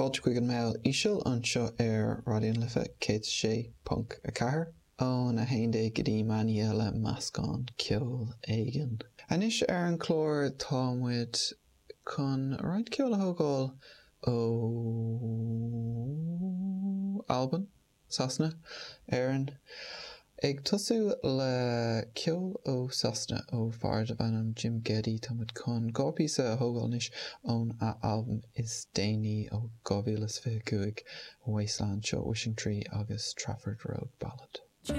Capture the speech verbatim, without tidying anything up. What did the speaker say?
Fáilte chuig an Meall Íseal anseo ar Raidió na Life céad sé ponc a ceathair ón a haon déag go dtí meán oíche le meascán ceoil éigin. Anois ar an chlár tá muid chun roinnt ceoil a thógáil ó Albain, Sasana, Éirinn. Ag tosú le ceol ó Sasana ó fear darb ainm Jim Ghedi tá muid chun dhá píosa a thógáil anois ón a albam is déanaí ó dhá mhíle is fiche cúig Wasteland seo Wishing Tree agus Trafford Road Ballad.